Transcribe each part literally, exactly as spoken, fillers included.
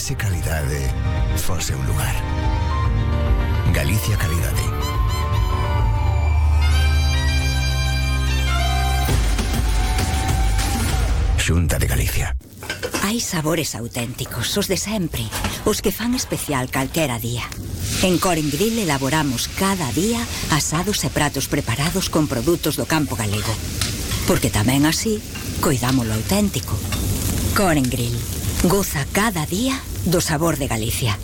se calidade fose un lugar. Galicia Calidade. Xunta de Galicia. Hai sabores auténticos, os de sempre, os que fan especial calquera día. En Coren Grill elaboramos cada día asados e pratos preparados con produtos do campo galego. Porque tamén así, coidamos lo auténtico. Coren Grill. Goza cada día do sabor de Galicia.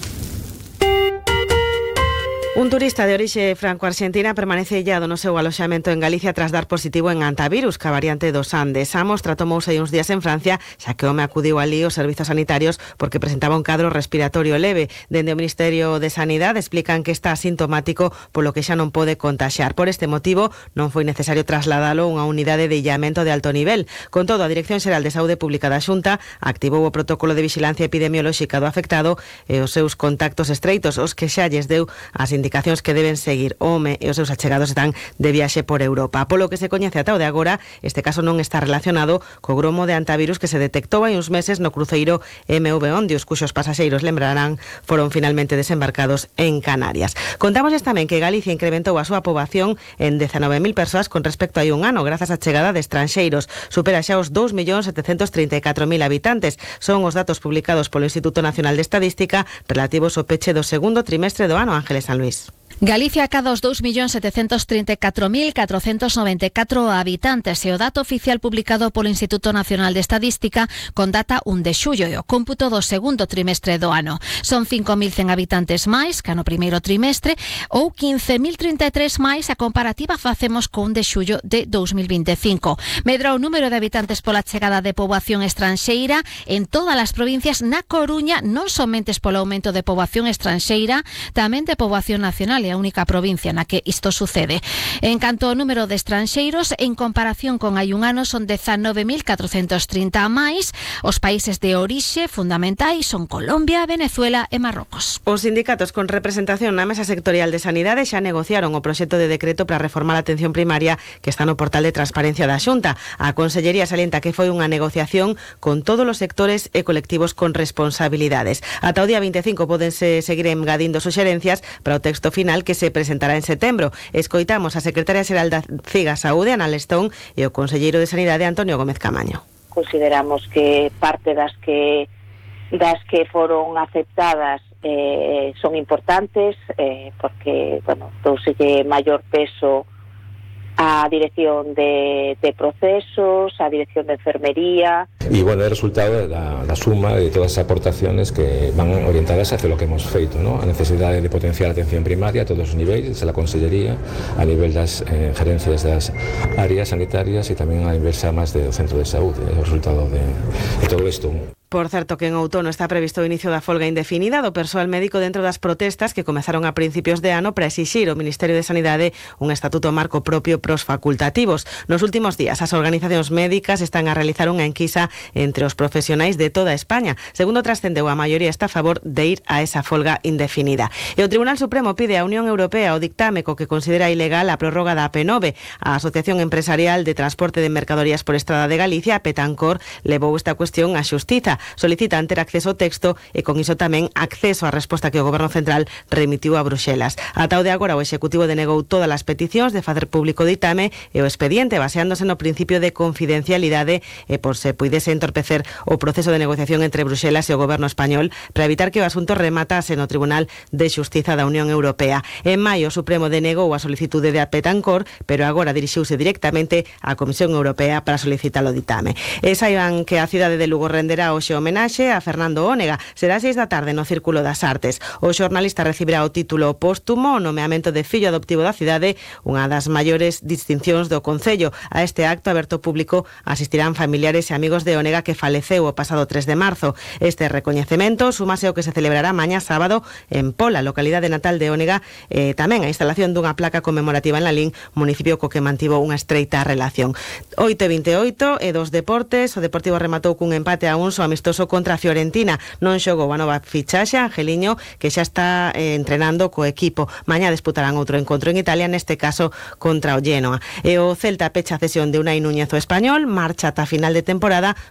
Un turista de orixe franco-arxentina permanece illado no seu aloxamento en Galicia tras dar positivo en antivirus, ca variante dos Andes. A mostra tomouse uns días en Francia, xa que o home acudiu alí aos servizos sanitarios porque presentaba un cadro respiratorio leve. Dende o Ministerio de Sanidade explican que está asintomático, polo que xa non pode contaxiar. Por este motivo, non foi necesario trasladalo a unha unidade de illamento de alto nivel. Con todo, a Dirección Xeral de Saúde Pública da Xunta activou o protocolo de vixilancia epidemiolóxica do afectado e os seus contactos estreitos, os que xa lles deu as indicacións que deben seguir. O home e os seus achegados están de viaxe por Europa. Polo que se coñece ata o de agora, este caso non está relacionado co gromo de antivirus que se detectou hai uns meses no cruceiro M V Ondius, cuxos pasaxeiros, lembrarán, foron finalmente desembarcados en Canarias. Contamos tamén que Galicia incrementou a súa poboación en dezanove mil persoas con respecto a hai un ano, grazas á chegada de estranxeiros. Supera xa os dous millóns setecentos trinta e catro mil habitantes. Son os datos publicados polo Instituto Nacional de Estadística relativos ao peche do segundo trimestre do ano. Ángeles San Luis. Galicia acada os dous millóns setecentos trinta e catro mil catrocentos noventa e catro habitantes e o dato oficial publicado polo Instituto Nacional de Estadística con data un de xullo e o cómputo do segundo trimestre do ano. Son cinco mil cen habitantes máis que no primeiro trimestre ou quince mil trinta e tres máis a comparativa facemos con un de xullo de dous mil vinte e cinco. Medra o número de habitantes pola chegada de poboación estranxeira en todas as provincias. Na Coruña non somente polo aumento de poboación estranxeira, tamén de poboación nacional, e a única provincia na que isto sucede. En canto ao número de estranxeiros, en comparación con hai un ano son dezanove mil catrocentos trinta máis. Os países de orixe fundamentais son Colombia, Venezuela e Marrocos. Os sindicatos con representación na Mesa Sectorial de Sanidade xa negociaron o proxecto de decreto para reformar a atención primaria que está no portal de transparencia da Xunta. A Consellería salienta que foi unha negociación con todos os sectores e colectivos con responsabilidades. Ata o día vinte e cinco pódense seguir engadindo suxerencias para o texto final que se presentará en setembro. Escoitamos a secretaria xeral da C I G A Saúde, Ana Lestón, e o conselleiro de Sanidade, Antonio Gómez Camaño. Consideramos que parte das que das que foron aceptadas eh, son importantes eh, porque, bueno, douselle maior peso a dirección de, de procesos, a dirección de enfermería. Y bueno, el resultado de la, la suma de todas esas aportaciones que van orientadas hacia lo que hemos feito, ¿no? A necesidade de potenciar a atención primaria a todos os niveis, a la Consellería, a nivel das eh, gerencias das áreas sanitarias e tamén a nivel xa máis do centro de saúde, o resultado de, de todo isto. Por certo que en outono está previsto o inicio da folga indefinida do persoal médico dentro das protestas que comezaron a principios de ano para exixir ao Ministerio de Sanidade un estatuto marco propio pros facultativos. Nos últimos días, as organizacións médicas están a realizar unha enquisa entre os profesionais de toda España. Segundo trascendeu, a maioría está a favor de ir a esa folga indefinida. E o Tribunal Supremo pide á Unión Europea o dictame co que considera ilegal a prórroga da A P nove. A Asociación Empresarial de Transporte de Mercadorías por Estrada de Galicia, a Petancor, levou esta cuestión á xustiza. Solicitan ter acceso ao texto e con iso tamén acceso á resposta que o Goberno Central remitiu a Bruxelas. Ata o de agora o Executivo denegou todas as peticións de facer público o ditame e o expediente baseándose no principio de confidencialidade e por se puidese entorpecer o proceso de negociación entre Bruxelas e o Goberno español para evitar que o asunto rematase no Tribunal de Xustiza da Unión Europea. En maio o Supremo denegou a solicitude de Petancor, pero agora dirixiuse directamente á Comisión Europea para solicitar o ditame. E saiban que a cidade de Lugo renderá hoxe homenaxe a Fernando Ónega. Será seis da tarde no Círculo das Artes. O xornalista recibirá o título póstumo, o nomeamento de fillo adoptivo da cidade, unha das maiores distincións do Concello. A este acto aberto público asistirán familiares e amigos de Ónega que faleceu o pasado tres de marzo. Este recoñecemento súmase ao que se celebrará mañá sábado en Pola, localidade natal de Ónega, e tamén a instalación dunha placa conmemorativa en Lalín, municipio co que mantivo unha estreita relación. oito e vinte e oito e dos deportes, o Deportivo rematou cun empate a un so amistoso contra a Fiorentina. Non xogou a nova fichaxe, Angeliño, que xa está eh, entrenando co equipo. Mañá disputarán outro encontro en Italia, neste caso contra o Genoa. E o Celta pecha a cesión de Unai Núñez o Español, marcha ata final de temporada